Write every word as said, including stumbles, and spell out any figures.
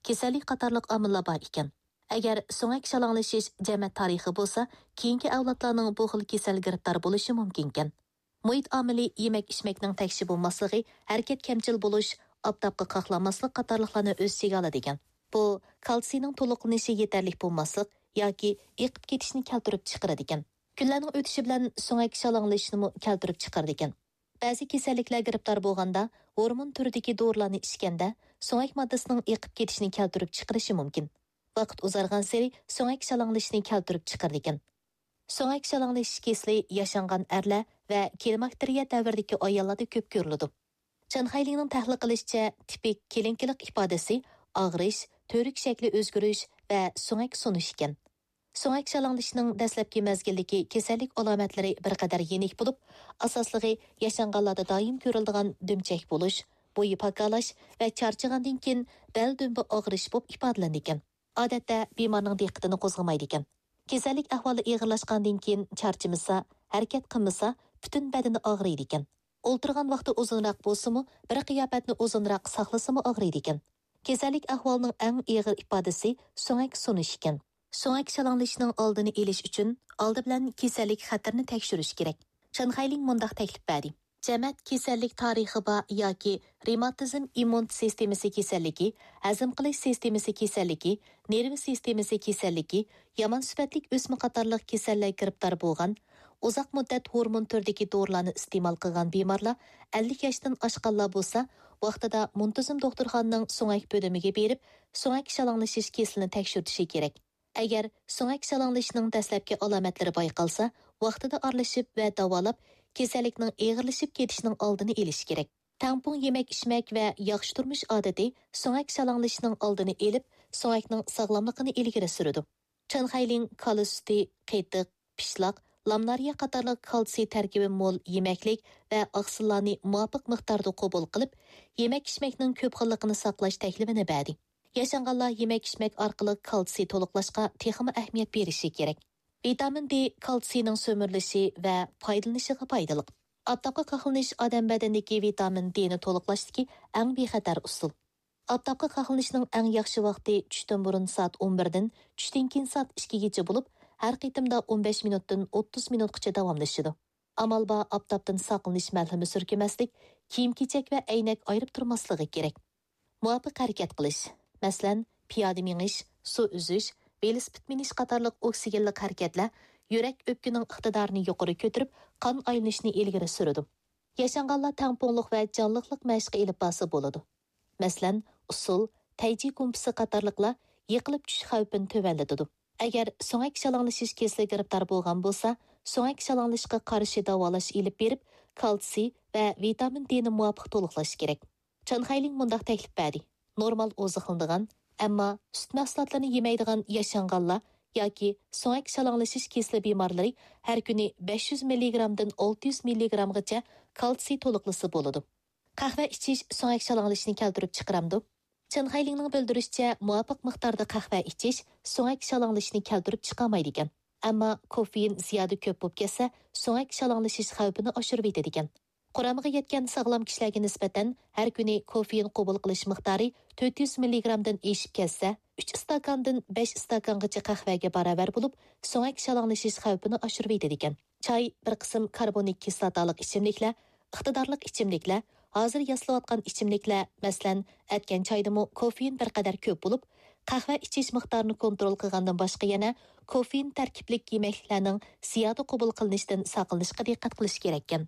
كېسەللىك قاتارلىق ئامىللار بار ئىكەن. ئەگەر سۆڭەك شالاڭلىشىش جەمەت تارىخى بولسا، كېيىنكى ئەۋلادلارنىڭ بۇ خىل كېسەلگە گىرىپتار بولۇشى مۇمكىنكەن. مۇھىت ئامىلى يېمەك-ئىچمەكنىڭ تەكشى بولماسلىقى، ھەرىكەت كەمچىل بولۇش، ئاپتاپقا قاقلانماسلىق قاتارلىقلارنى ئۆز ئىچىگە ئالىدىكەن. بۇ كالتسىينىڭ تولۇقلىنىشى يېتەرلىك بولماسلىق ياكى ئېقىپ كېتىشنى كەلتۈرۈپ چىقىرىدىكەن. كۈنلەرنىڭ ئۆتۈشى بىلەن سۆڭەك شالاڭلىشىشنىمۇ كەلتۈرۈپ چىقىرىدىكەن. بەزى كېسەللىكلەر گىرىپتار بولغاندا، ھورمون تۈرىدىكى دورىلارنى ئىچكەندە، سۆڭەك ماددىسىنىڭ ئېقىپ كېتىشىنى كەلتۈرۈپ چىقىرىشى مۇمكىن. ۋاقىت ئۇزارغانسېرى سۆڭەك شالاڭلىشىشنى كەلتۈرۈپ چىقىرىدىكەن. سۆڭەك شالاڭلىشىش كېسىلى ياشانغان ئەرلەر ۋە كلىماكتېرىيە دەۋرىدىكى ئاياللاردا كۆپ كۆرۈلىدۇ. چېن خەيلىڭنىڭ تەھلىل قىلىشىچە، تىپىك كلىنىكىلىق ئىپادىسى ئاغرىش، تۈۋرۈك شەكلى ئۆزگىرىش ۋە سۆڭەك سۇنۇش ئىكەن. سۆڭەك شالاڭلىشىشنىڭ دەسلەپكى مەزگىلدىكى كېسەللىك ئالامەتلىرى بىر قەدەر يېنىك بولۇپ، ئاساسلىقى ياشانغانلاردا دائىم كۆرۈلىدىغان دۈمچەك بولۇش، بويى پاكالاش ۋە چارچىغاندىن كېيىن بەل دۈمبە ئاغرىش بولۇپ ئىپادىلىنىدىكەن. ئادەتتە بىمارنىڭ دىققىتىنى قوزغىمايدىكەن. كېسەللىك ئەھۋالى ئېغىرلاشقاندىن كېيىن چارچىمىسا، ھەرىكەت قىلمىسا، پۈتۈن بەدىنى ئاغرىيدىكەن. ئولتۇرغان ۋاقتى ئۇزۇنراق بولسىمۇ، بىر قىياپەتنى ئۇزۇنراق ساقلىسىمۇ ئاغرىيدىكەن. كېسەللىك ئەھۋالىنىڭ ئەڭ ئېغىر ئىپادىسى سۆڭەك سۇنۇش ئىكەن. سۆڭەك شالاڭلىشىشنىڭ ئالدىنى ئېلىش ئۈچۈن ئالدى بىلەن كېسەللىك خەتىرىنى تەكشۈرۈش كېرەك. چېن خەيلىڭ مۇنداق تەكلىپ بەردى: جەمەت كېسەللىك تارىخى بار ياكى رېماتىزم، ئىممۇن سىستېمىسى كېسەللىكى، ھەزىم قىلىش سىستېمىسى كېسەللىكى، نېرۋا سىستېمىسى كېسەللىكى، يامان سۈپەتلىك ئۆسمە قاتارلىق كېسەللەرگە گىرىپتار بولغان، ئۇزاق مۇددەت ھورمون تۈرىدىكى دورىلارنى ئىستېمال قىلغان بىمارلار ئەللىك ياشتىن ئاشقانلار بولسا، ۋاقتىدا مۇنتىزىم دوختۇرخانىنىڭ سۆڭەك بۆلۈمىگە بېرىپ، سۆڭەك شالاڭلىشىش كېسىلىنى تەكشۈرتۈشى كېرەك. ئەگەر سۆڭەك شالاڭلىشىشنىڭ دەسلەپكى ئالامەتلىرى بايقالسا، ۋاقتىدا ئارىلىشىپ ۋە داۋالاپ، كېسەللىكنىڭ ئېغىرلىشىپ كېتىشىنىڭ ئالدىنى ئېلىش كېرەك. تەڭپۇڭ يېمەك-ئىچمەك ۋە ياخشى تۇرمۇش ئادىتى سۆڭەك شالاڭلىشىشنىڭ ئالدىنى ئېلىپ، سۆڭەكنىڭ ساغلاملىقىنى ئىلگىرى سۈرىدۇ. چېن خەيلىڭ كالا سۈتى، قېتىق، پىشلاق، لامنارىيە قاتارلىق كالتسىي تەركىبى مول يېمەكلىك ۋە ئاقسىللارنى مۇۋاپىق مىقداردا قوبۇل قىلىپ، يېمەك-ئىچمەكنىڭ كۆپ خىللىقىنى ساقلاش تەكلىپىنى بەردى. ياشانغانلار يېمەك-ئىچمەك ئارقىلىق كالتسىي تولۇقلاشقا تېخىمۇ ئەھمىيەت بېرىشى كېرەك. ۋىتامىن دې كالتسىينىڭ سۈمۈرۈلۈشى ۋە پايدىلىنىشىغا پايدىلىق. ئاپتاپقا قاقلىنىش ئادەم بەدىنىدىكى ۋىتامىن دېنى تولۇقلاشتىكى ئەڭ بىخەتەر ئۇسۇل. ئاپتاپقا قاقلىنىشنىڭ ئەڭ ياخشى ۋاقتى چۈشتىن بۇرۇن سائەت ئون بىردىن، چۈشتىن كېيىن سائەت ئىككىگىچە بولۇپ، ھەر قېتىمدا ئون بەش مىنۇتتىن ئوتتۇز مىنۇتقىچە داۋاملىشىدۇ. ئامال بار ئاپتاپتىن ساقلىنىش مەلھىمى سۈركىمەسلىك، كىيىم-كېچەك ۋە ئەينەك ئايرىپ تۇرماسلىقى كېرەك. مۇۋاپىق ھەرىكەت قىلىش، مەسىلەن، پىيادە مېڭىش، سۇ ئۈزۈش، ۋېلىسىپىت مىنىش قاتارلىق ئوكسىگېنلىق ھەرىكەتلەر يۈرەك، ئۆپكىنىڭ ئىقتىدارىنى يۇقىرى كۆتۈرۈپ، قان ئايلىنىشىنى ئىلگىرى سۈرىدۇ. ياشانغانلار تەڭپۇڭلۇق ۋە جانلىقلىق مەشقى ئېلىپ بارسا بولىدۇ. مەسىلەن، ئۇسسۇل، تەيجى گۇمپىسى قاتارلىقلار يىقىلىپ چۈشۈش خەۋپىنى تۆۋەنلىتىدۇ. ئەگەر سۆڭەك شالاڭلىشىش كېسىلىگە گىرىپتار بولغان بولسا، سۆڭەك شالاڭلىشىشقا قارشى داۋالاش ئېلىپ بېرىپ، كالتسىي ۋە ۋىتامىن دېنى مۇۋاپىق تولۇقلاش كېرەك. چېن خەيلىڭ مۇنداق تەكلىپ بەردى: نورمال ئوزۇقلىنىدىغان، ئەمما سۈت مەھسۇلاتلىرىنى يېمەيدىغان ياشانغانلار ياكى سۆڭەك شالاڭلىشىش كېسىلى بىمارلىرى ھەر كۈنى بەش يۈز مىللىگرامدىن ئالتە يۈز مىللىگرامغىچە كالتسىي تولۇقلىسا بولىدۇ. قەھۋە ئىچىش سۆڭەك شالاڭلىشىشنى كەلتۈرۈپ چىقىرامدۇ؟ چېن خەيلىڭنىڭ بىلدۈرۈشىچە، مۇۋاپىق مىقداردا قەھۋە ئىچىش سۆڭەك شالاڭلىشىشنى كەلتۈرۈپ چىقارمايدىكەن. ئەمما كوفېئىن زىيادە كۆپ بولۇپ كەتسە، سۆڭەك شالاڭلىشىش خەۋپىنى ئاشۇرۇۋېتىدىكەن. قۇرامىغا يەتكەن ساغلام كىشىلەرگە نىسبەتەن ھەر كۈنى كوفېئىن قوبۇل قىلىش مىقدارى تۆت يۈز مىللىگرامدىن ئېشىپ كەتسە، ئۈچ ئىستاكاندىن بەش ئىستاكانغىچە قەھۋەگە باراۋەر بولۇپ، سۆڭەك شالاڭلىشىش خەۋپىنى ئاشۇرۇۋېتىدىكەن. چاي، بىر قىسىم كاربونىك كىسلاتالىق ئىچىملىكلەر، ئىقتىدارلىق ئىچىملىكلەر، ھازىر ياسىلىۋاتقان ئىچىملىكلەر، مەسىلەن، ئەتكەن چايدىمۇ كوفېئىن بىر قەدەر كۆپ بولۇپ، قەھۋە ئىچىش مىقدارىنى كونترول قىلغاندىن باشقا يەنە كوفېئىن تەركىبلىك يېمەكلىكلەرنىڭ زىيادە قوبۇل قىلىنىشىدىن ساقلىنىشقا دىققەت قىلىش كېرەككەن.